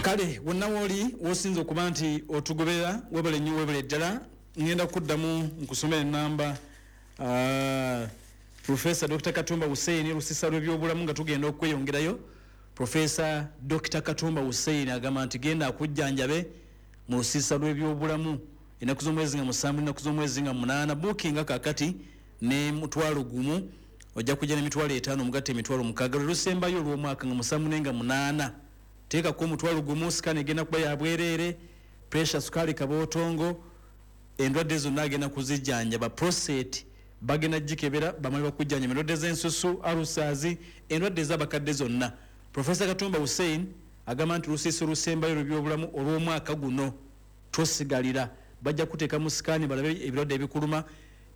Kale wonna wooli wosinza okuba nti otugoberera, webale nnyo, webale ddala. Ngenda kuddamu nkusomera enamba, Profesa Dr Katumba Hussein, lusisa lw'ebyobulamu, nga tugenda okweyongerayo. Profesa Dr Katumba Hussein agamba nti genda akujjanjabe mu lusiisa lw'ebyobulamu ennaku z'omwezi nga 7, ennaku z'omwezi nga 8. Buukinga kakati ne 10,000, ojja kujja n'50,000, omugatte 60,000. Lwe lusembayo olw'omwaka, nga 7 nenga 8. Teekako 10,000, scan egenda kuba yabwereere. Pressure, sukaali, kabootongo, endwadde zonna agenda kuzijjanjaba. Prostate bagenda gikebera bamale bakujjanjaba. Endwadde z'ensusu, ulcers, endwadde ez'abakadde zonna. Profesa Katumba Hussein agamba nti lusiisa olusembayo olw'ebyobulamu olw'omwaka guno, tosigalira. Bajja kuteeka mu scan balabe ebirwadde ebikuluma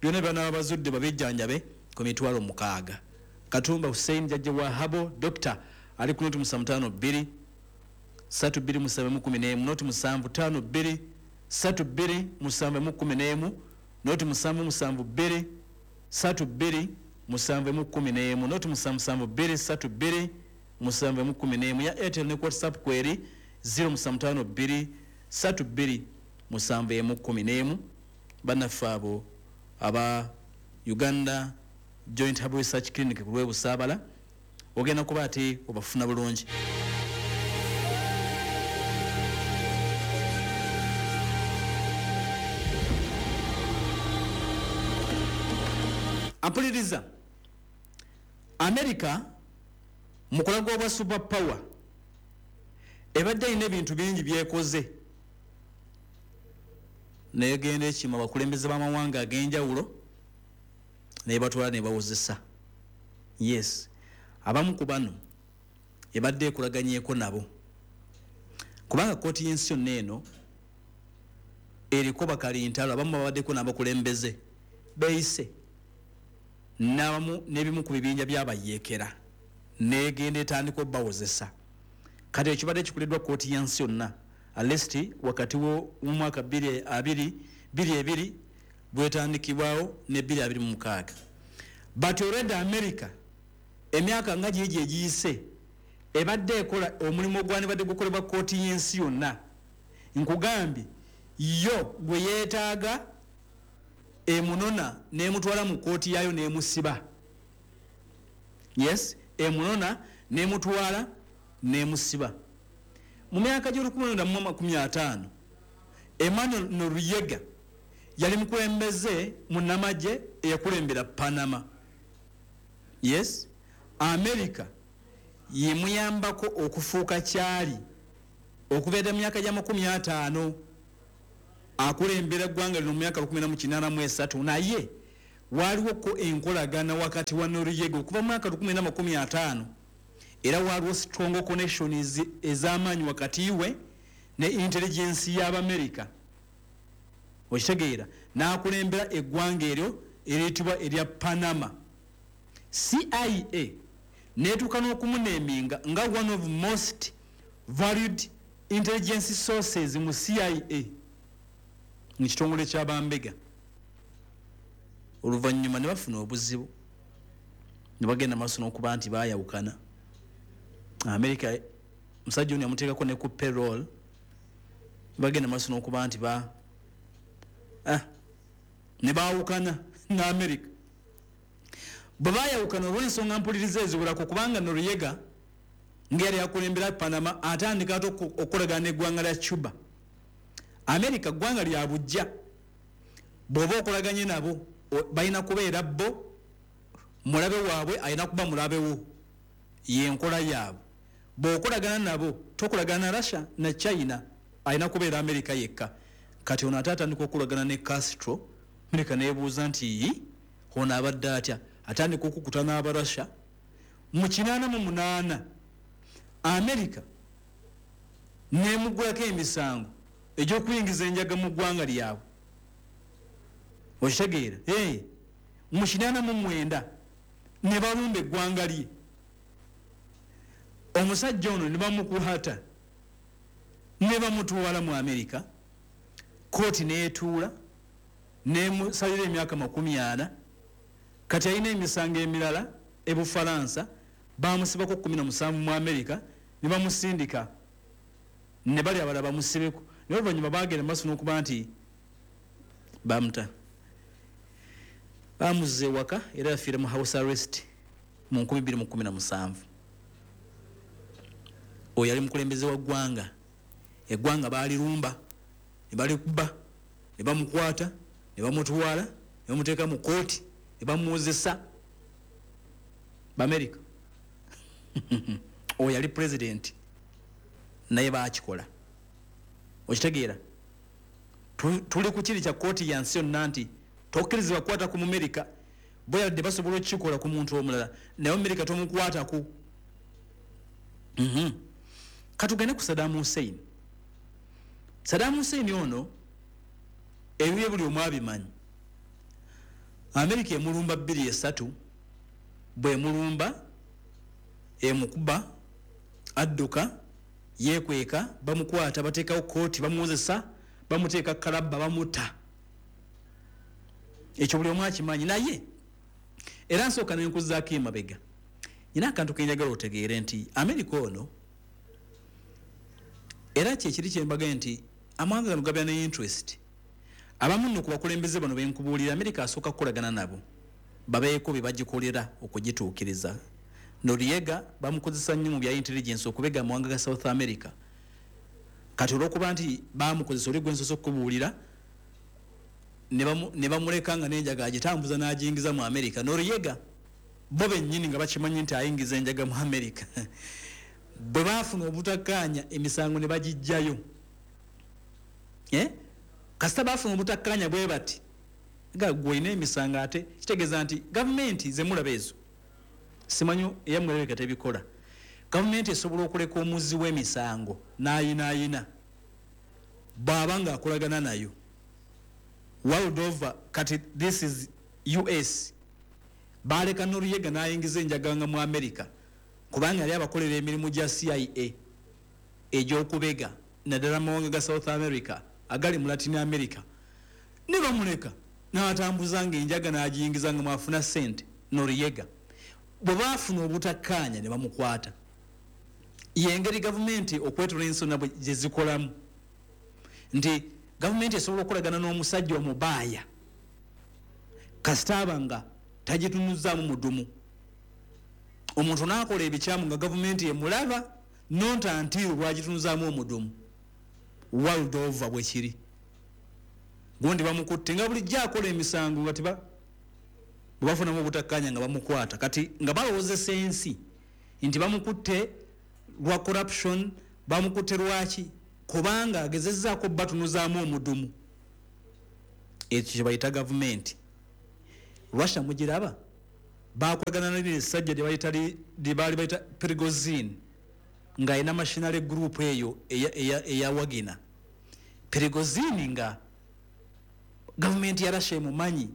byonna, byanaaba bazudde babijjanjabe ku 60,000. Katumba Hussein, jajja wa habo doctor, ali ku 075 2 32 7 11, 0752 32 7 11, 0772 32 7 11, 0772 32 7 11. Ya Airtel ne WhatsApp kweri 0752 32 7 11. Bannaffe abo aba Uganda Joint Herbal Research Clinic ku lwebusaabala, ogenda kuba ate obafuna bulungi. Ampuliriza, America mukulaga obwa super power ebadde alina ebintu bingi byekoze, negenda ekima abakulembeze b'amawanga ag'enjawulo nebatwala nebawozesa. Yes, abamu ku bano ebadde ekolaganyeko nabo, kubanga kooti y'ensi yonna eno eriko bakalintalo abamu babaddeko n'abakulembeze beeyise n'abamu n'ebimu ku bibinja byabayeekera, negenda etandika obbawozesa. Kati ekibadde kikuleddwa kooti y'ensi yonna, at least wakati w'omwaka 2022 bwetandikibwawo ne 2026. But already America emyaka nga gigi egiyise ebadde ekola omulimu ogwandibadde gukolebwa kooti y'ensi yonna. Nkugambye, yo gwe yeetaaga emunona nemutwala mu kooti yaayo nemusiba. Yes, emunona nemutwala nemusiba. Mu myaka gy'1950, Emmanuel Noriega yali mukulembeze munamagye eyakulembera Panama. Yes, America yemuyambako okufuuka kyali okubeera mu myaka gya 50, akulembera eggwanga lino mu myaka 1983. Naye waliwoko enkolagana wakati wa Noriega okuva mu mwaka 1950, era waliwo strong connections ez'amaanyi wakati we ne intelligence y'Abamerika. Okitegeera? N'akulembera eggwanga eryo eriyitibwa erya Panama. CIA netuuka n'okumuneminga nga one of most valued intelligence sources mu CIA, mu kitongole ky'abambega. Oluvannyuma ne bafuna obuzibu ne bagenda maaso n'okuba nti bayawukana. America musajja ono yamuteekako ne ku payroll, bagenda maaso n'okuba nti ba ne baawukana ne America. Bwe bayawukana olw'ensonga mpuliriza eziwerako, kubanga Noriega nga yali akulembera Panama atandika ate okukolagana n'eggwanga lya Cuba. America ggwanga lya bujja, bw'oba okolaganye nabo balina kubeera bo mulabe waabwe, alina kuba mulabewo, yenkola yaabwe. Bw'okolagana nabo, tokolagana na Russia na China, alina kubeera America yekka. Kati ono ate atandika okukolagana ne Castro. America nebuuza nti, "Yi, ono abadde atya?" Atandika okukuta n'Abarussia. Mu 88 America nemugulako emisango egy'okuyingiza enjaga mu ggwanga lyabwe. Okitegeera? Hey, mu 89 ne balumba eggwanga lye, omusajja ono ne bamukwata ne bamutwala mu Amerika. Kooti neetuula nemusalira emyaka 40. Kati alina emisango emirala e Bufalansa. Bamusibako 17 mu Amerika ne bamusindika. Ne bali abalala bamusibeko. Naye oluvannyuma baagenda maaso n'okuba nti bamuta. Bamuzza ewaka era yafiira mu house arrest mu 2017. Oyo yali mukulembeze wa ggwanga. Eggwanga baalirumba, ne balikuba, ne bamukwata, ne bamutwala, ne bamuteeka mu kkooti, ne bamuwozesa. B'Amerika. Oyo yali president, naye baakikola. Okitegeera? Tuli ku kiri kya kkooti ya nsi yonna nti tokkirizibwa kukwata ku Mumerika. Bo yadde basobola okukikola ku muntu omulala, naye Omumerika tomukwatako. Katugende ku Saddam Hussein. Saddam Hussein ono ebibye buli omu abimanyi. Amerika emulumba 2-3, bw'emulumba emukuba, adduka, yeekweka, bamukwata, bateekawo kkooti, bamuwozesa, bamuteeka kalabba, bamuta. Ekyo buli omu akimanyi. Naye era nsooka ne nkuzzaako emabega. Nina akantu ke njagala otegeere nti Amerika ono era kyekiri kye mbagambye nti amawanga gano gabeera ne interest. Abamu nno ku bakulembeze bano be nkubuulira, Amerika asooka kukolagana nabo babeeko bye bagikolera okugituukiriza. Noriega bamukozesa nnyo mu bya intelligence okubega amawanga ga South America. Kati olw'okuba nti bamukozesa oli gwe nsoose okukubuulira, ne bamuleka nga n'enjaga agitambuza n'agiyingiza mu America. Noriega bo bennyini nga bakimanyi nti ayingiza enjaga mu America. Bwe baafuna obutakkaanya emisango ne bagiggyayo. Kasita baafuna obutakkaanya bwe bati, nga ggwe olina emisango ate kitegeeza nti gavumenti ze mulaba ezo, simanyi eyammwe erabika tebikola. Gavumenti esobola okuleka omuzzi w'emisango n'ayinaayina bw'aba ng'akolagana nayo. World over, kati this is US. Baaleka Noriega n'ayingiza enjaga nga mu America kubanga yali abakolera emirimu gya CIA egy'okubega naddala mu mawanga ga South America agali mu Latin America. Ne bamuleka n'atambuza ng'enjaga n'agiyingiza nga mwafuna ssente. Noriega bwe baafuna obutakkaanya ne bamukwata. Y'engeri gavumenti okwetooloola ensi yonna gye zikolamu nti gavumenti esobola okukolagana n'omusajja omubaaya kasita aba nga tagitunuzaamu mudumu. Omuntu n'akola ebikyamu nga gavumenti emulaba not until lwagitunuzaamu omudumu. World over bwe kiri. Gundi bamukutte nga bulijjo akola emisango nga bwe bafunamu obutakkaanya nga bamukwata. Kati nga balowoozesa ensi nti bamukutte lwa corruption, bamukutte lwaki, kubanga agezezzaako batunuzaamu omudumu. Ekyo kye bayita gavumenti. Russia mugiraba bakolagana n'eriri essajja lye baali bayita Prigozhin ng'alina machinery group eyo eya Wagner. Prigozhin nga gavumenti ya Russia emumanyi,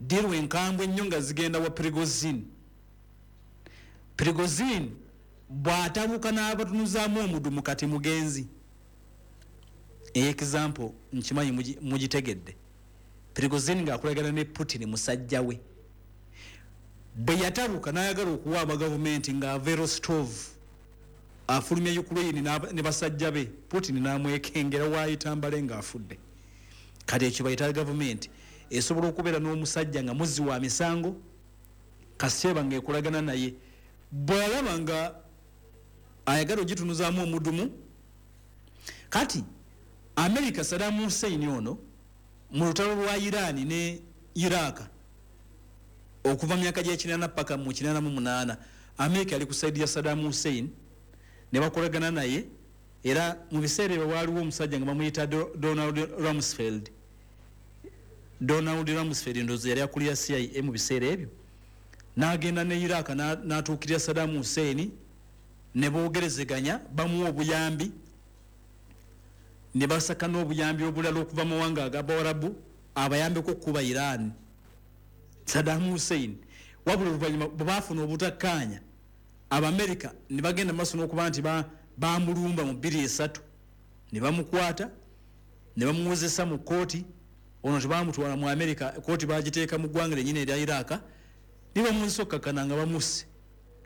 deal enkambwe ennyo nga zigenda wa Prigozhin. Prigozhin bw'atabuka n'abatunuzaamu omudumu kati mugenzi. Example nkimanyi mugitegedde. Prigozhin ng'akolagana ne Putin musajja we. Bwe yatabuka n'ayagala okuwaaba gavumenti ng'ava e Rostov afulumya Ukraine ne basajja be, Putin n'amwekengera waayita mbale ng'afudde. Kati ekyo bayita gavumenti esobola okubeera n'omusajja nga muzzi wa misango kasita ng'ekolagana naye. Bw'alaba nga ayagala ogitunuzaamu omudumu. Kati America Saddam Hussein ono mu lutalo lwa Iran ne Iraq okuva myaka gy'ekinana paka mu 88, America yali ku side ya Saddam Hussein ne bakolagana naye. Era mu biseera ebyo waaliwo omusajja nga bamuyita Donald Rumsfeld. Donald Rumsfeld ndowooza yali akulira CIA mu biseera ebyo. N'agenda ne Iraq n'atuukirira Saddam Hussein ne boogerezeganya, bamuwa obuyambi ne basaka n'obuyambi obulala okuva mu mawanga ag'Abawarabu abayambeko okukuba Iran. Saddam Hussein wabula oluvannyuma bwe baafuna obutakkaanya Abamerika ne bagenda maaso n'okuba nti bamulumba mu 2003 ne bamukwata ne bamuwozesa mu kkooti. Ono tebamutwala mu Amerika, kkooti bagiteeka mu ggwanga lyennyini erya Iraq ne bamuwozesa okkakkana nga bamusse,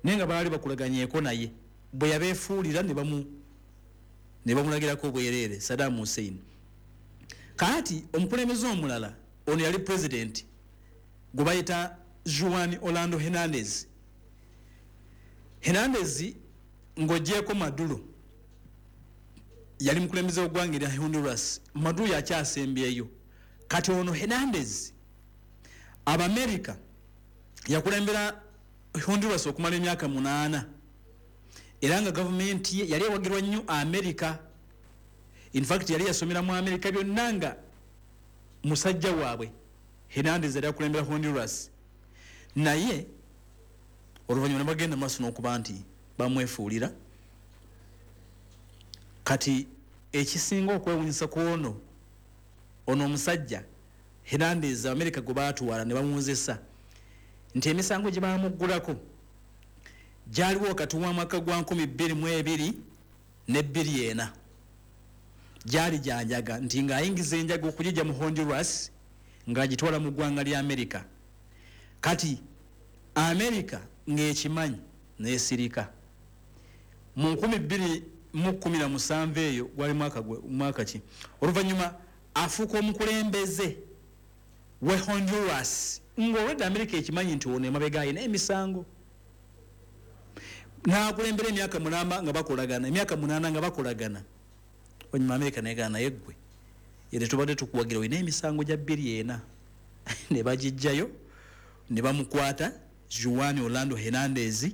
naye nga baali bakulaganyeeko naye. Bwe yabeefuulira ne Ne bamulagirako obwereere Saddam Hussein. Kaati omukulembeze omulala ono yali president gwe bayita Juan Orlando Hernandez. Hernandez, ng'ogyeko Maduro, yali mukulembeze w'eggwanga erya Honduras. Maduro yakyasembyeyo. Kati ono Hernandez, Abamerika, yakulembera Honduras okumala emyaka 8, era nga gavumenti ye yali ewagirwa nnyo Amerika. Infact yali yasomera mu Amerika, byonna nga musajja waabwe. Hernandez yali akulembera Honduras, naye oluvannyuma ne bagenda maaso n'okuba nti bamwefuulira. Kati ekisinga okwewunyisa ku ono omusajja Hernandez, Amerika gwe baatwala ne bamuwozesa, nti emisango gye bamuggulako gyaliwo wakati wa mwaka gwa 2002 ne 2004. Gyali gyanjaga, nti ng'ayingiza enjaga okugijja mu Honduras ng'agitwala mu ggwanga lya Amerika. Kati Amerika ng'ekimanyi n'esirika. Mu 2017, eyo gwali mwaka ki? Oluvannyuma afuuka omukulembeze we Honduras, ng'olwedde Amerika ekimanyi nti ono emabega ayina emisango. N'akulembera emyaka 8 nga bakolagana, emyaka 8 nga bakolagana. Oluvannyuma Amerika negana, naye ggwe yere tubadde tukuwagira, olina emisango gya 24. Ne bagijjayo ne bamukwata, Juan Orlando Hernandez,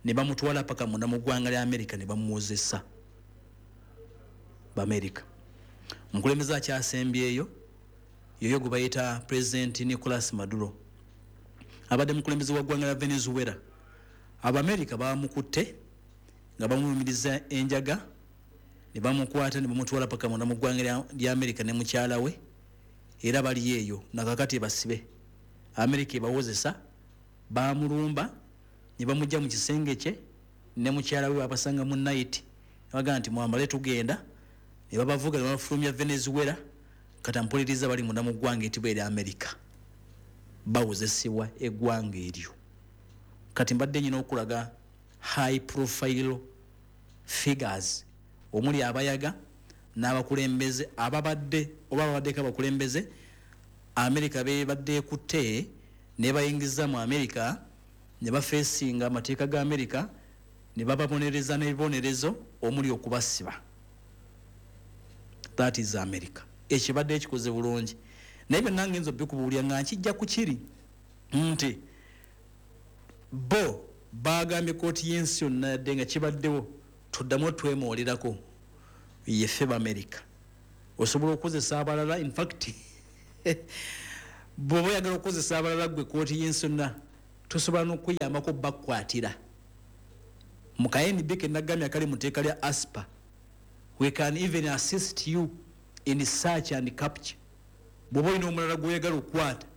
ne bamutwala paka munda mu ggwanga lya Amerika ne bamuwozesa Bamerika. Omukulembeze akyasembyeyo yoyo gwe bayita President Nicolas Maduro, abadde mukulembeze wa ggwanga lya Venezuela. Abamerika bamukutte nga bamulumiriza enjaga, ne bamukwata ne bamutwala paka munda mu ggwanga lya Amerika ne mukyala we, era bali eyo nakakati basibe. Amerika ebawozesa. Bamulumba ne bamujja mu kisenge kye ne mukyala we, babasanga mu night, bagamba nti mwambale tugenda, ne babavuga ne babafulumya Venezuela. Kati mpuliriza, bali munda mu ggwanga etibwa erya Amerika, bawozesebwa eggwanga eryo. Kati mbadde nyina okulaga high profile figures omuli abayaga n'abakulembeze ababadde oba babaddeko abakulembeze Amerika bebadde ekutte ne bayingiza mu Amerika, ne bafeesinga amateeka ga Amerika, ne bababonereza n'ebibonerezo omuli okubasiba. That is America, ekibadde ekikoze bulungi. Naye byonna ngenza obikubuulira nga nkijja ku kiri nti bo bagambye kooti y'ensi yonna, yadde nga kibaddewo, tuddamu twemoolirako yeffe b'Amerika. Osobola okukozesa abalala. Infact bw'oba oyagala okukozesa abalala, gwe kooti y'ensi yonna tosobola n'okuyambako bakukwatira mu ka NB ke nagambye akali mu tteeka lya ASPA. We can even assist you in search and capture. Bw'oba olina omulala gw'oyagala okukwata,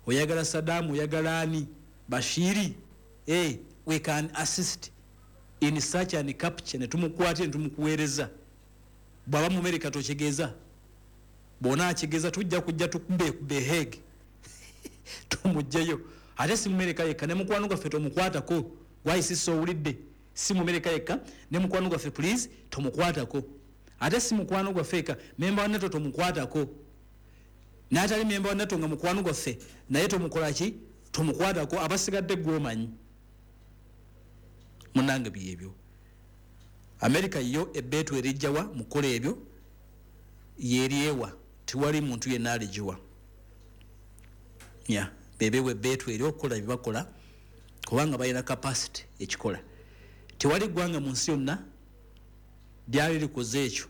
oyagala Sadamu, oyagala ani, Bashiri, we can assist in search and capture, ne tumukwatire ne tumukuweereza. Bw'aba mu Amerika tokigeza, bw'ona akigeza tujja kujja tukube Hague tumugjeyo. Ate si mu Amerika yekka, ne mukwano gwaffe tomukwatako. Gwayisisa owulidde? Si mu Amerika yekka, ne mukwano gwaffe please tomukwatako. Ate si mukwano gwaffe eka, memba wa NATO tomukwatako, n'atali memba wa NATO nga mukwano gwaffe naye tomukola ki? Tomukwatako. Abasigadde gwomanyi munange. Byebyo. Amerika yo ebbeetu erijjawa mukola ebyo yeryewa, tewali muntu yenna aligiwa ya bebewe ebbeetu eri okukola byebakola, kubanga balina capacity ekikola. Tewali ggwanga mu nsi yonna lyali likoze ekyo,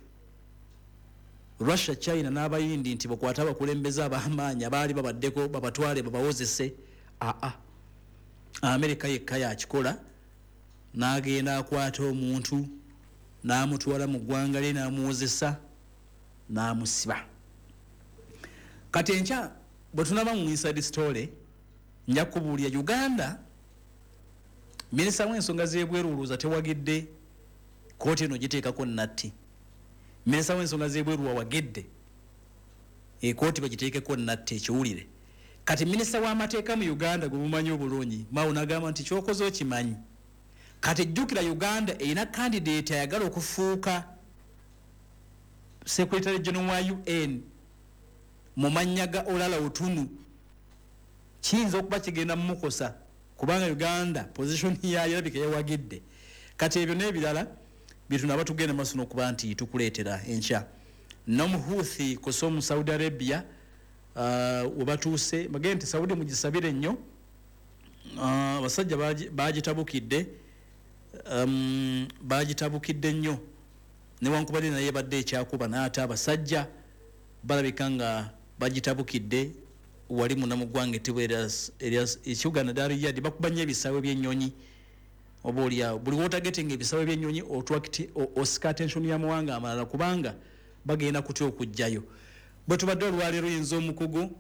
Russia, China n'Abayindi, nti bakwate abakulembeze ab'amaanyi abaali babaddeko babatwale babawozese. Aa, Amerika yekka yakikola, n'agenda akwata omuntu n'amutwala mu ggwanga lye n'amuwozesa n'amusiba. Kati enkya bwe tunaba mu Inside Story, nja kubuulira Uganda. Minisita w'ensonga z'ebweru olowooza tewagidde kooti eno giteekako natti? Minisita w'ensonga z'ebweru wawagidde ekooti bagiteekeko natti, ekiwulire. Kati minisita w'amateeka mu Uganda gwe mumanyi obulungi, Mao, nagamba nti kyokoze okimanyi. Kati jjukira, Uganda erina candidate ayagala okufuuka Secretary General wa UN mu mannya ga Olala Otunu kiyinza okuba kigenda mumukosa, kubanga Uganda position yayo erabika yawagidde. Kati ebyo n'ebirala byetunaba tugenda maaso n'okuba nti tukuleetera enkya. N'omuhuthi kusa omu Saudi Arabia webatuuse bagende nti Saudi mugisabire nnyo, abasajja bagitabukidde, bagitabukidde nnyo newankubadde naye badde ekyakuba, naye ate abasajja balabika nga bagitabukidde wali munda mu ggwanga ettibwa ekibuga naddala Riyadh. Bakuba nnyo ebisaawe by'ennyonyi, oba oliawo buli wotagetinga ebisaawe by'ennyonyi osika attention y'amawanga amalala, kubanga bagenda kutya okujjayo. Bwe tubadde olwaleero, yinza omukugu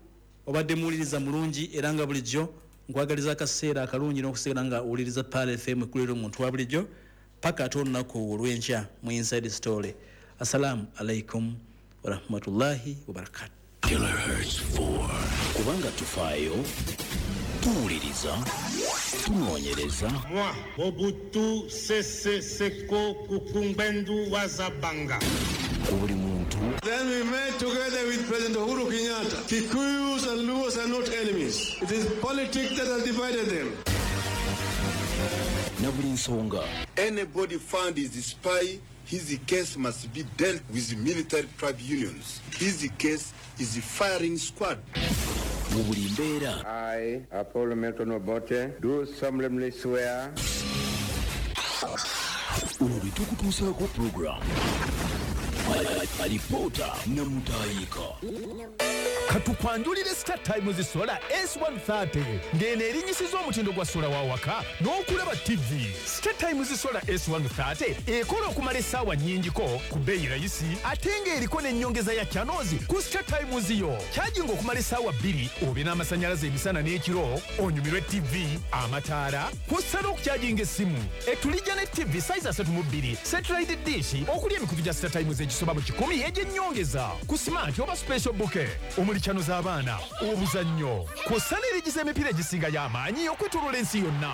obadde muwuliriza mulungi, era nga bulijjo nkwagaliza akaseera akalungi n'okusigala nga owuliriza Pearl FM ekulira omuntu wa bulijjo paka ate olunaku olw'enkya mu Inside Story. Assalamu alaikum warahmatullahi wabarakatu. Kilohertz 4. Kubanga tufaayo, tuwuliriza, tunoonyereza. Moi, Mobutu Sese Seko Kuku Ngbendu wa Za Banga. Ku buli muntu. Then we met together with President Uhuru Kenyatta. Kikuyus and Luos are not enemies. It is politics that has divided them. Na buli nsonga. Anybody found is a spy, his case must be dealt with military tribunals. His case is a firing squad. Mu buli mbeera. I, Apollo Milton Obote, do solemnly swear. Olwo lwe tukutuusaako program Alipoota Namutayika. Katukwanjulire Star Times Solar S130 ng'eno erinyisiza omutindo gwa sola wa waka n'okulaba TV. Star Times Solar S130 ekola okumala essaawa nnyingiko ku bbeeyi rayisi, ate ng'eriko n'ennyongeza ya channels ku Star Times yo. Kyajinga okumala essaawa 2 obe n'amasannyalaze emisana n'ekiro, onyumirwe TV, amataala, kw'ossa n'okukyajinga essimu. Etulijja ne TV size 32, satellite dish okuli emikutu gya Star Times egisoba mu 100 egy'ennyongeza ku smart oba special bouquet omuli channel z'abaana, obuzannyo, kw'ossa n'erigiza emipiira egisinga y'amaanyi okwetooloola ensi yonna.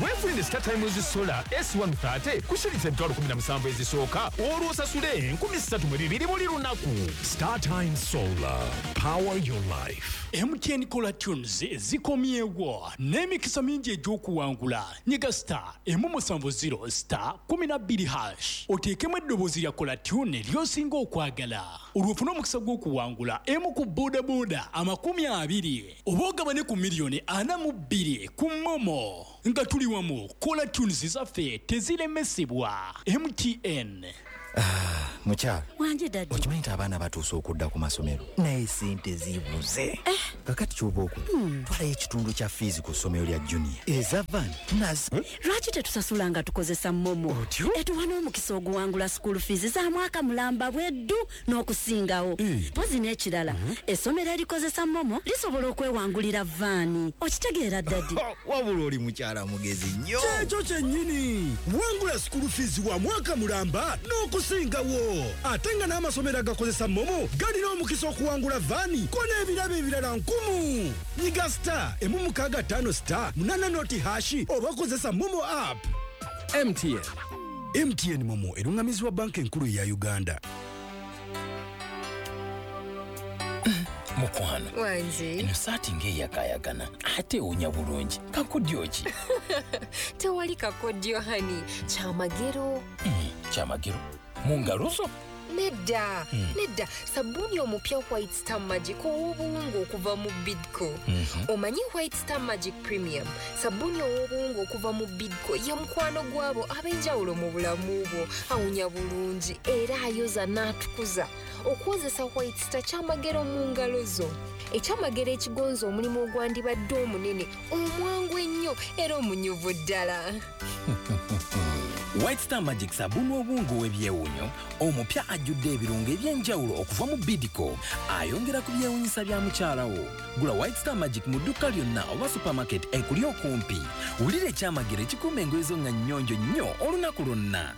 Weefunire Star Times Solar S130 ku shilingi 17,000 ezisooka, olwo osasule 3,200 buli lunaku. Star Times Solar, power your life. MTN Caller Tunes zikomyewo n'emikisa mingi egy'okuwangula. Nyiga star 170 star 12 hash oteekemu eddoboozi lya Caller Tune ly'osinga okwagala, olwo ofune omukisa gw'okuwangula emu ku bodaboda 20 oba ogabane ku miliyoni 42 ku MoMo. Nga tuli wamu, Caller Tunes zaffe teziremesebwa. MTN. Mukyala wanje daddy, okimanyi nti abaana batuuse okudda ku masomero, naye sente zibuze. Kakati kyoba okola, twalayo ekitundu kya fiizi ku ssomero lya junior eza van nazo. Lwaki tetusasula nga tukozesa MoMo? Etuwa n'omukisa oguwangula school fees za mwaka mulamba bweddu n'okusingawo. Mpozi n'ekirala, essomero erikozesa MoMo lisobola okwewangulira vaani. Okitegeera daddy? Wabula oli mukyala mugezi nnyo. Kyekyo kyennyini, wangula school fees wa mwaka mulamba n'okusingawo, ate nga n'amasomero agakozesa MoMo galina omukisa okuwangula vaani ko n'ebirabo ebirala 10. Nyiga star 165 star 8 noti hashi oba kozesa MoMo app. MTN. MTN MoMo erungamizibwa banka enkulu ya Uganda. Mukwano wanje, eno saati ng'eyakayakana ate ewunya bulungi, kakodyo ki? Tewali kakodyo hani, kyamagero. Kyamagero mu ngalo zo? Nedda, nedda, sabbuuni omupya White Star Magic ow'obuwunga okuva mu Bidco. Omanyi White Star Magic Premium, sabbuuni ow'obuwunga okuva mu Bidco ye mukwano gwabo ab'enjawulo mu bulamu bwo, awunya bulungi era ayoza n'atukuza. Okwozesa White Star kyamagero mu ngalo zo. Ekyamagero ekigonza omulimu ogwandibadde omunene, omwangu ennyo era omunyuvu ddala. White Star Magic sabbuuni obuwunga ow'ebyewuunyo omupya ajjudde ebirungo eby'enjawulo okuva mu Bidco, ayongera ku byewuunyisa bya mukyala wo. Gula White Star Magic mu dduuka lyonna oba supermarket ekuli okumpi. Wulira ekyamagero ekikuuma engoye zo nga nnyonjo nnyo olunaku lwonna.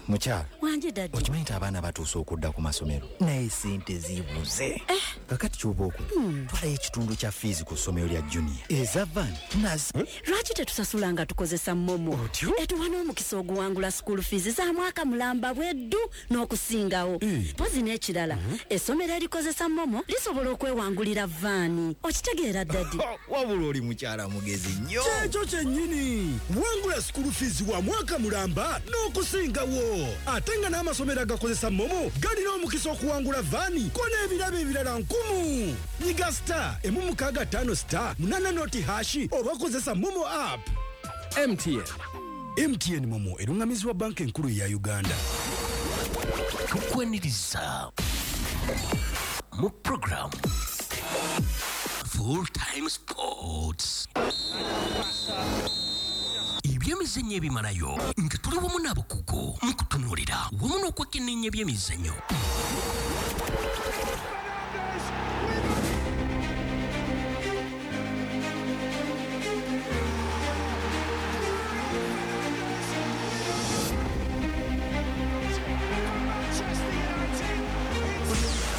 Mukyala wanje. Wangi daddy. Okimanyi nti abaana batuuse okudda ku masomero, naye sente zibuze. Kakati kyoba okola, twalayo ekitundu kya fiizi ku ssomero lya Junior, eza van nazi. Lwaki tetusasula nga tukozesa MoMo? Etuwa n'omukisa oguwangula school fees za mwaka mulamba bweddu n'okusingawo. Mpozi n'ekirala, essomero erikozesa MoMo lisobola okwewangulira vaani. Okitegeera daddy? Wabula oli mukyala mugezi nnyo. Kyekyo kyennyini. Wangula school fees wa mwaka mulamba n'okusingawo, ate nga n'amasomero agakozesa MoMo galina omukisa okuwangula vaani ko n'ebirabo ebirala nkumu. Nyiga *165 *80# oba kozesa MoMo app. MTN. MTN MoMo erungamizibwa Banka Enkulu ya Uganda. Tukwaniriza mu program Full Time Sports, ebyemizannyo ebimalayo, nga tuli wamu n'abakugu mu kutunuulira wamu n'okwekenneenya ebyemizannyo.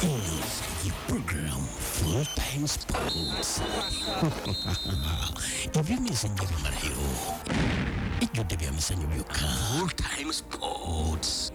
Eno ye program Full Time Sports, ebyemizannyo ebimalayo, ejjudde byamizannyo byokka. Full Time Sports.